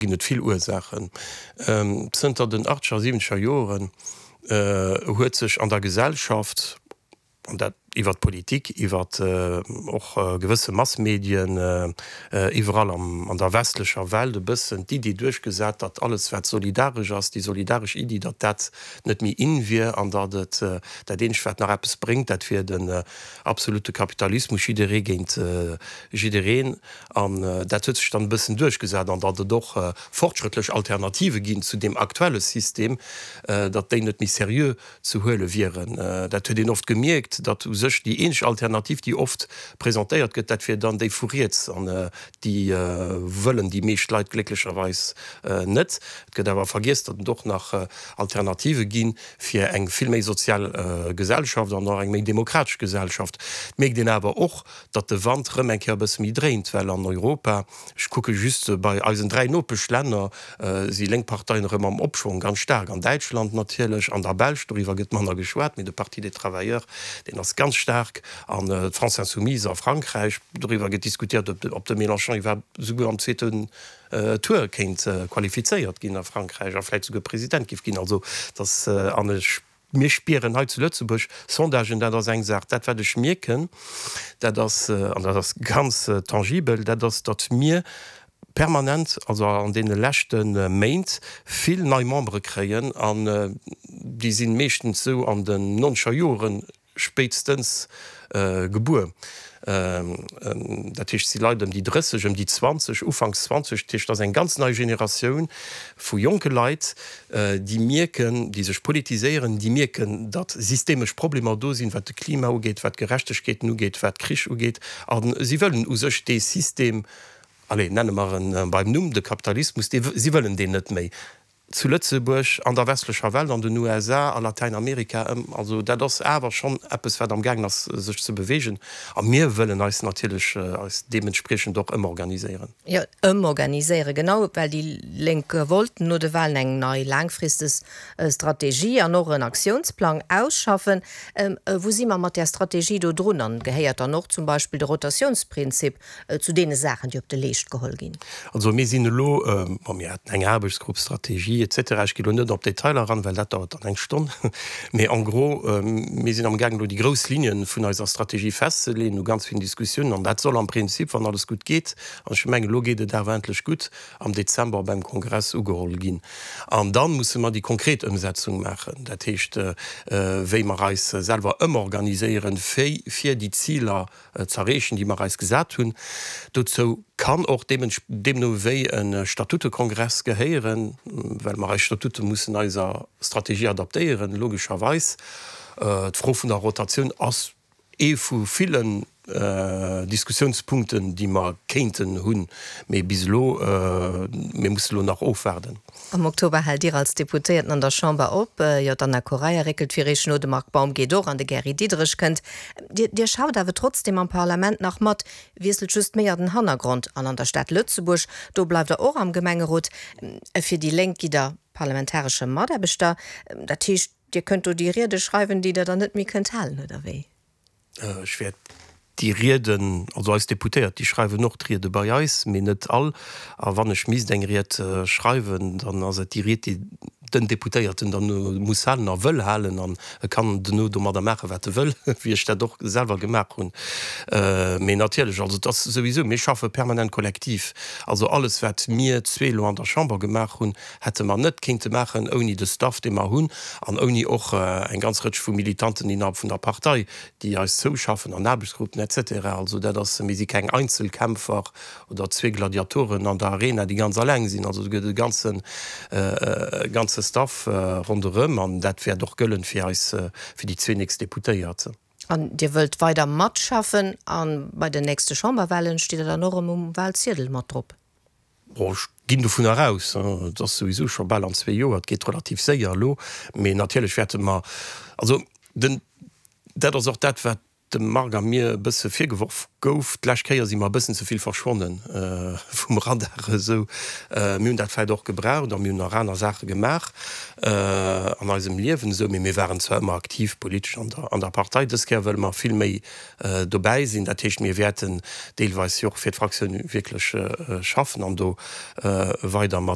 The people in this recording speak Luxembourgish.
Ginn et vill Ursaachen. Zënter den achtzeger a siwwenzeger Joren huet sech an der Gesellschaft, an dat iwwer d'Politik, iwwer och gewësse Massmedien, iwwerall an der westlecher Welt e bëssen d'Iddi duerchgesat, datt alles wat solidaresch ass, déi solidaresch Iddi, datt dat net méi in wier an datt et dat eenzegt wat nach eppes bréngt, dat wier den absolute Kapitalismus, jidderee géint jiddereen. An dat huet sech dann e bëssen duerchgesat an datt et och fortschrëttlech Alternative ginn zu deem aktuelle System, datt déi net méi seriö ze huele wieren. Dat huet een oft gemierkt, datt u sech déi eenzeg Alternativ, déi oft presentéiert gëtt, dat wier dann déi vu riets. An déi wëllen déi meescht Leit glécklecherweis net. Et gëtt awer vergiess, datt et och nach Alternative gi fir eng vill méi sozial Gesellschaft an och eng méi demokratesch Gesellschaft. Et mierkt een awer och, datt de Wand rëm eng Kéier e bësse méi dréint, well an Europa, ech kucke just bei eisen 3 Nopeschlänner, si lénk Parteien erëm am Opschwong, ganz staark an Däitschland natierlech, an der Belsch, doriwwer gëtt manner geschwat, mee de Parti des Travailleurs, deen ass ganz staark, an d'France Insoumise a Frankräich, doriwwer gëtt diskutiert, ob de Mélenchon iwwerhaapt souguer am zweeten Tour kéint qualifizéiert ginn a Frankräich a vläicht souguer President géif ginn. Also, dass, an ech Mir spieren hei zu Lëtzebuerg Sondagen, dat ass eng Saach. Dat wat ech mierken, dat ass, an dat ass ganz tangibel, dat ass, datt mir permanent, also an deene leschte Méint, vill nei Membere kréien an déi si meeschtens esou an den nonzeger Joren spéitstens gebuer. Dat heescht, et si Leit ëm déi 30, ëm déi 20, ufanks 20. Dat heescht, et ass eng ganz nei Generatioun vu jonke Leit, déi mierken, déi sech politiséieren, déi mierken, datt systemesch Problemer do sinn, wat de Klima ugeet, wat d'Gerechtegkeeten ugeet, wat Krich ugeet. A si wëllen u sech dee System, allez, nenne mer en beim Numm, de Kapitalismus, dee, si wëllen deen net méi. Zu Lëtzebuerg, an der westlecher Welt, an den USA, a Latäinamerika, ëm. Also dat ass awer schonn eppes, wat amgaangen ass sech ze beweegen. A mir wëllen eis natierlech eis deementspriechend och ëmorganiséieren. Jo, ëmorganiséieren, genau, well déi Lénk wollten no de Wahlen eng nei laangfristeg Strategie an och en Aktiounsplang ausschaffen. Wou si mer mat där Strategie do drun? An gehéiert dann och zum Beispill de Rotatiounsprinzip zu deene Saachen, déi op de Leescht geholl ginn? Also mir sinn elo, bon, mir haten eng Aarbechtsgrupp, Strategie et cetera, ech ginn elo net op d'Detailer eran, well dat dauert dann eng Stonn, mee en gros, mir sinn amgaangen elo déi grouss Linge vun eiser Strategie festzeleeën, no ganz villen Diskussiounen, an dat soll am Prinzip, wann alles gutt geet, an ech mengen elo geet et awer endlech gutt, am Dezember beim Kongress ugeholl ginn. An da musse mer déi konkret Ëmsetzung maachen, dat heescht, wéi mer eis selwer ëmorganiséieren, fir déi Ziler z'erreechen, déi mer eis gesat hunn. Dozou kann och deemno wéi e Statutekongress gehéieren, well mer eis Statute mussen eiser Strategie adaptéieren, logescherweis. D'Fro vun der Rotatioun ass ee vu villen Diskussiounspunkten, déi mer kéinten hunn, mee bis elo, mir mussen elo nach ofwaarden. Am Oktober haalt Dir als Deputéierten an der Chamber op. Jo, d'Anna Correia réckelt fir Iech no, de Marc Baum geet och an de Gary Diderich kënnt. Dir, Dir schafft awer trotzdeem am Parlament nach mat, wiesselt just méi a den Hannergrond. An an der Stad Lëtzebuerg, do bleift Der och am Gemengerot. Fir déi Lénk gitt Der parlamentaresche Mataarbechter. Dat heescht, Dir kënnt do déi Riede schreiwen, déi Der dann net méi kënnt halen, oder wéi? Ech wäert déi Rieden, also eis Deputéiert, déi schreiwen och d'Riede bei eis, mee net all. A wann ech misst eng Ried schreiwen, dann ass et déi Ried, déi den Deputéierten dann muss halen a wëll halen. An e kann duerno domadder maachen, wat e wëll, wéi ech dat och selwer gemaach hunn. Mee natierlech, also et ass souwisou, mir schaffe permanent kollektiv. Also alles, wat mir zwee elo an der Chamber gemaach hunn, hätte mer net kéinte maachen ouni de Staff, dee mer hunn, an ouni och eng ganz Rëtsch vu Militanten innerhalb vun der Partei, déi eis zouschaffen an Aarbechtsgruppen et cetera. Also dat ass, mir si keng Einzelkämpfer oder zwee Gladiatoren an der Arena, déi ganz alleng sinn. Also do gëtt e ganze, e ganze Staff ronderëm an dat wäert och gëllen fir eis, fir déi zwee nächst Deputéiert. An Dir wëllt weider matschaffen a bei den nächste Chamberwahlen steet Der dann och erëm um Wahlziedel mat drop? Bon, ech ginn dovunner aus, et ass souwisou scho bal an zwee Joer, et geet relativ séier elo, mee natierlech wäerte mer, also den, dat ass och dat, wat dem Marc a mir e bësse virgeworf gouf, d'lescht Kéier si mer e bëssen ze vill verschwonne vum Radar esou. Mir hunn dat vläicht och gebraucht a mir hunn nach aner Saache gemaach an eisem Liewen esou, mee mir waren zwar ëmmer aktiv politesch an der, an der Partei. Dës Kéier wëlle mer vill méi dobäi sinn. Dat heescht, mir wäerten deelweis jo och fir d'Fraktioun wierklech schaffen an do weider mat.